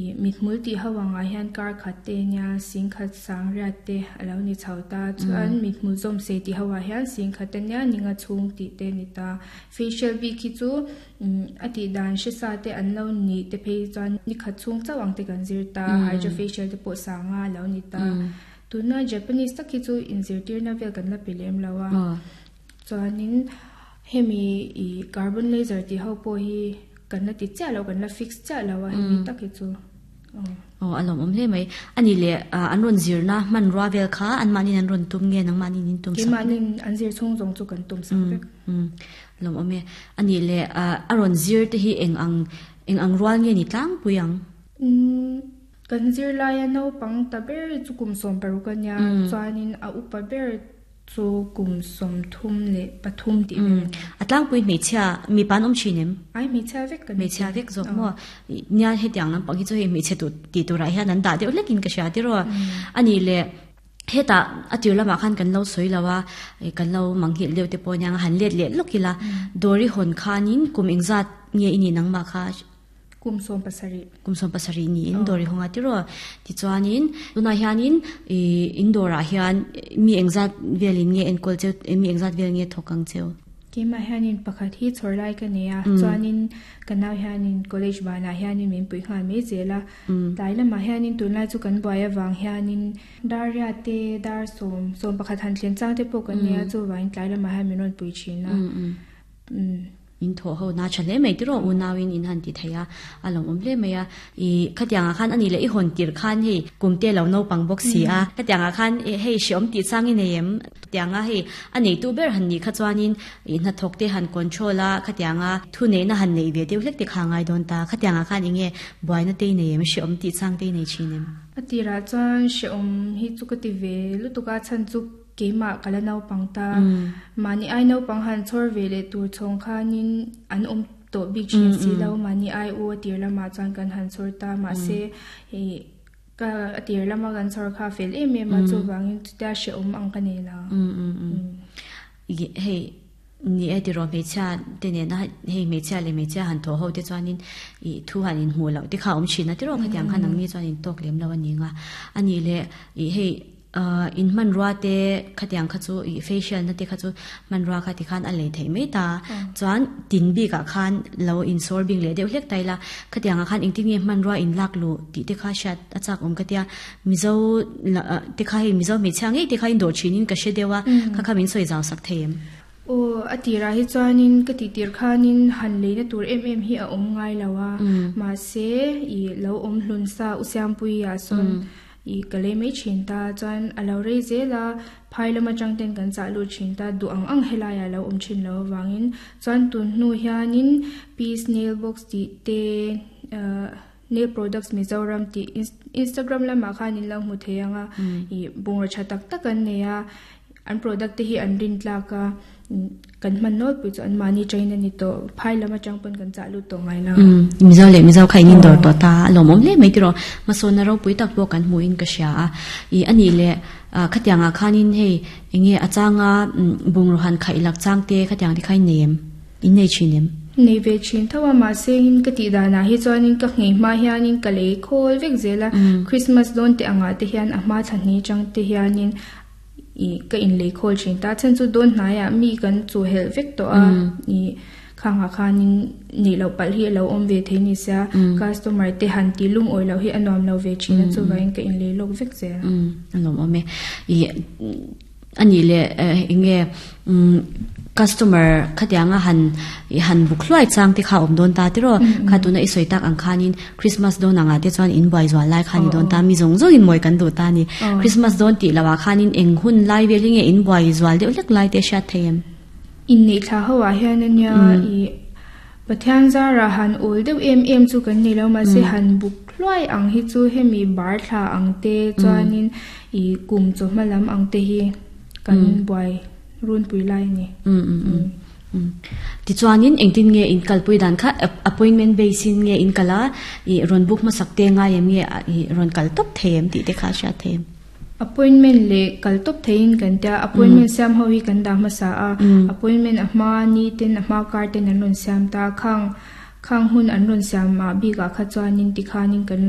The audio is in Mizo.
Ih mithmul tih ho angah hian kar khat te nia singkhat sangriat te a lo ni chho ta chuan mithmul zawm sei tih ho ah hian singkhat ania ninga chhung tih te a ni ta facial bik hi chu umm a tih dan hre sa te an lo nih te phei chuan ni khat chhung chauh ang te kan zir ta hydra facial te pawh sanga a lo ni ta tuna Japanese tak hi chu inzirtirna vel kan la pe lem lo a chuanin hemi ih carbon laser tih ho pawh hi. Kan la ti chiah lo, kan la fix chiah lo a hemi tak hi chu. Aw a lawmawm hle mai. A nih leh an rawn zirna hmanrua vel kha anmahniin an rawn tum nge nangmahniin in tum sak? Keimahniin an zir chhung zawng chu kan tum sak vek. Lawmawm e. A nih leh a rawn zir te hi eng ang eng ang rual nge ni tlangpui ang? Kan zirlaia naupang ta ber chu kum 16 a nia, chuanin a upa ber Chu kum 33 tih vel a ni. A tlangpui hmeichhia mipa an awm thin em? Ai hmeichhia vek kan ni. Hmeichhia vek zawk maw? Nia hetiang lampang hi chu hei hmeichhe tih tih turah hian an dah deuh hlekin ka hria tiraw. A nih leh hetah a tir lamah khan kan lo sawi lo a, kan lo manghilh deuh te pawh aniang a han let leh lawk ila. Dawri hawn khanin kum engzat nge i nih nangmah kha? Kum 17. Kum 17 niin dawr i hawng a tiraw. Tichuanin tunah hianin ih in dawrah hian mi engzat velin nge enkawl cheu mi engzat vel nge thawk ang cheu? Keimah hianin pakhat hi chhawr lai ka nei a, chuanin ka nau hianin college banah hianin min puih nghal mai zel a. Tlai lamah hianin tunlai chu kan buai avang hianin dar riat te, dar sawm, 11 han thlen chang te pawh kan nei a, chuvangin tlai lamah hian min rawn pui thin a. In thawh ho na tha hle mai tiraw unauin in han ti thei a, a lawmawm hle mai a. I khatiangah khan ani leh i hawn tir khan hei kum te lo naupang bawk si a, khatiangah khan hei hreawm tih chang i nei em? Tianga hei a neitu ber han nih kha chuanin i hnathawk te han control a, khatianga thu neihna han neih ve deuh hlek te kha a ngai dawn ta. Khatiangah khan enge buaina te i nei em? Hreawm tih chang te i nei thin em? A tirah chuan hreawm hi chu ka ti ve lutuk a, chhan chu Keimah ka la naupang ta. Mahni ai naupang han chhawr ve leh tur chhawng khanin an awm tawh bik thin si lo. Mahni ai u a tir lamah chuan kan han chhawr ta. Mahse ka a tir lama kan chhawr kha a fel em em a, chuvangin chutia hrehawm ang ka nei lo. Hei ni e tiraw hmeichhia te nena hei hmeichhia leh hmeichhia han thawh ho te chuanin ih thu han inhmuh loh te kha a awm thin a tiraw khatiang khan nangni chuan intawk lem lo a ni ang a. A nih leh ih hei In hmanrua te khatiang kha chu ih facial na te kha chu hmanrua kha tikhan a lei theih mai ta. Chuan tin bikah khan lo insawr bing leh deuh hlek ta ila, khatiangah khan engtin nge hmanrua in lak luh tih te kha hriat a chak awm ka tia. Mizo te kha hei Mizo hmeichhia ngei te kha in dawh thinin ka hre deuh a, kha kha min sawi zau sak thei em? Aw, a tirah hi chuanin ka tih tir khanin han leina tur em em hi a awm ngai lo a, mahse ih lo awm hlun sa U Siampuia sawn I ka lei mai thin ta chuan a lo rei zel a, phai lam atang ten kan chah lut thin ta, duh ang ang helai ah lo awm thin lo avangin chuan tun hnu hianin Peace Nail Box tih te ahh Nail Products Mizoram tih Instagram lamah khan in lo hmu thei ang a, ih bungraw tha tak tak an nei a, An product te hi an rin tlak a, kan hman nawlpui chu anmahni train a ni tawh. Phai lam atang pawn kan chah lut tawh ngai lo. Mizo leh Mizo kha in indawr tawh ta a lawmawm hle mai tiraw. Hmasawnna ropui tak pawh kan hmuhin ka hria a. Ih a nih leh khatiangah khanin hei enge a changa bungraw han khaih lak chang te khatiang te kha in nei em? In nei thin em? Nei ve thin tho a, mahse in ka tih danah hi chuanin ka nghei hma hianin ka lei khawl vek zel a. Christmas dawn te angah te hian a hma thla hni chang te hianin Ih ka inlei khawl thin ta. Chhan chu dawn hnaiah mi kan chu helh vek tawh a, ih khangah khanin nih loh palh hi a lo awm ve thei ni sia, customer te han tih lungawi loh hi a nuam lo ve thin a, chuvangin ka inlei lawk vek zel. A lawmawm e. Ih a nih leh eng nge Customer khatianga han han buk hluai chang te kha awm dawn ta tiraw? Kha tuna i sawi tak ang khanin Christmas dawn angah te chuan in buai zual lai kha ni dawn ta, mi zawng zawng in mawi kan duh ta ni. Christmas dawn tih loh ah khanin eng hun lai vel hi nge in buai zual deuh hlek lai te hriat thei em? Inneih thla ho ah hian ania i Pathian zarah han awl deuh em em chu kan nei lo mahse han buk hluai ang hi chu hemi bar thla ang te chuanin i kum chawhma lam ang te hi kan buai runpui lai a ni. Tichuanin engtin nge in kalpui dan kha appointment base in nge in kal a, i rawn book hmasak te ngai em nge i rawn kal tawp thei em tih te kha a hriat thei em? Appointment leh kal tawp theiin kan tia, appointment siam ho hi kan dah hmasa a, appointment a hma ni ten a hma kar ten an rawn siam ta, khang khang hun an rawn siam ah bikah kha chuanin tikhanin kan lo.